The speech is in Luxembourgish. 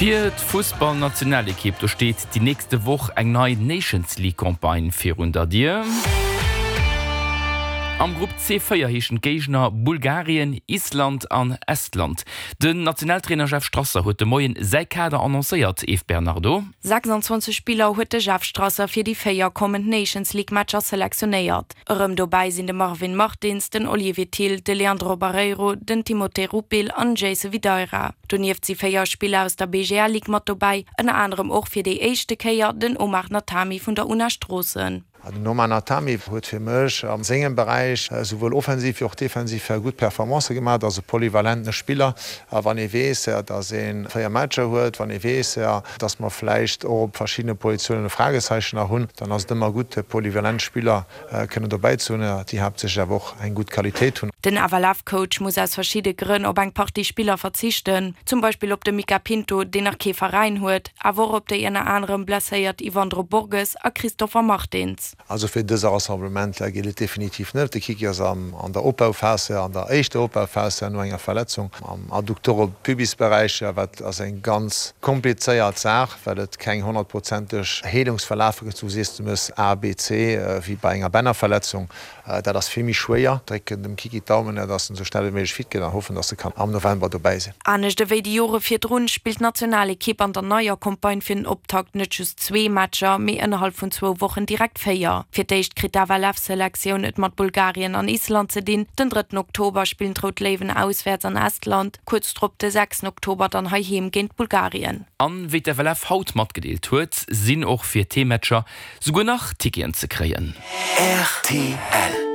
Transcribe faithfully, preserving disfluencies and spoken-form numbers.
Fir d'Fussballnationalekipp, do steet déi nächste Woch eng nei Nations League Campagne virun der Dier. Am Grupp C véier heeschen d'Géigner Bulgarien, Island an Estland. Den Nationaltrainer Jeff Strasser huet de Moien säi Kader annoncéiert, Eve Bernardo. sechsundzwanzeg Spiller huet de Jeff Strasser fir déi véier kommend Nations League Matcher selektionéiert. Erëm dobäi sinn de Marvin Martins, den Olivier Thill, de Leandro Barreiro, den Timothé Rupil an Jayce Videira. Donieft si véier Spiller aus der B G L Ligue mat dobäi, ënner anerem och fir déi éischte Kéier den Omar Natami vun der UNA Stroossen. Den Omar Natami huet fir mech am sengem Beräich souwuel offensiv wéi och defensiv gutt Performancë gemaach, ass e polyvalente Spiller. A wann ee weess, datt ee véier Matcher huet, wann ee weess, datt mer vläicht och op verschiddene Positiounen e Fragezeichen nach hunn, dann ass et ëmmer gutt, polyvalent Spiller kënnen dobäi ze hunn, déi haaptsächlech awer och eng gutt Qualitéit hunn. Den F L F-Coach muss aus verschiddene Grënn op eng Partie Spiller verzichten, zum Beispill op de Mika Pinto, deen nach kee Veräin huet, awer och op déi ënner anerem blesséiert Ivandro Borges a Christopher Martins. Also fir dëse Rassemblement geet et definitiv net. De Kiki ass am, an der Opbauphase, an der éischter Opbauphase no enger Verletzung am Adduktore-Pubis-Beräich, wat ass eng ganz komplizéiert Saach, well et keng honnertprozenteg Heelungsverlafe gëtt, du sees, du muss A, B, C wéi bei enger Bännerverletzung. Dat ass vill méi schwéier. Drécken dem Kiki d'Daumen, datt en sou schnell wéi méiglech fit gëtt an hoffen, datt e kann am November dobäi sinn. Anescht ewéi déi Jore virdrun spillt d'Nationalekipp an der neier Campagne fir den Optakt net just zwee Matcher, mee ënnerhalb vun zwou Wochen direkt véier. Fir d'éischt kritt d'F L F-Selektioun et mat Bulgarien an Island ze dinn. Den drëtten Oktober spillen d'Rout Léiwen auswäerts an Estland, kuerz drop de sechsten Oktober dann heiheem géint Bulgarien. An wéi d'F L F haut matgedeelt huet, sinn och fir d'Matcher souguer nach Ticketen ze kréien. R T L.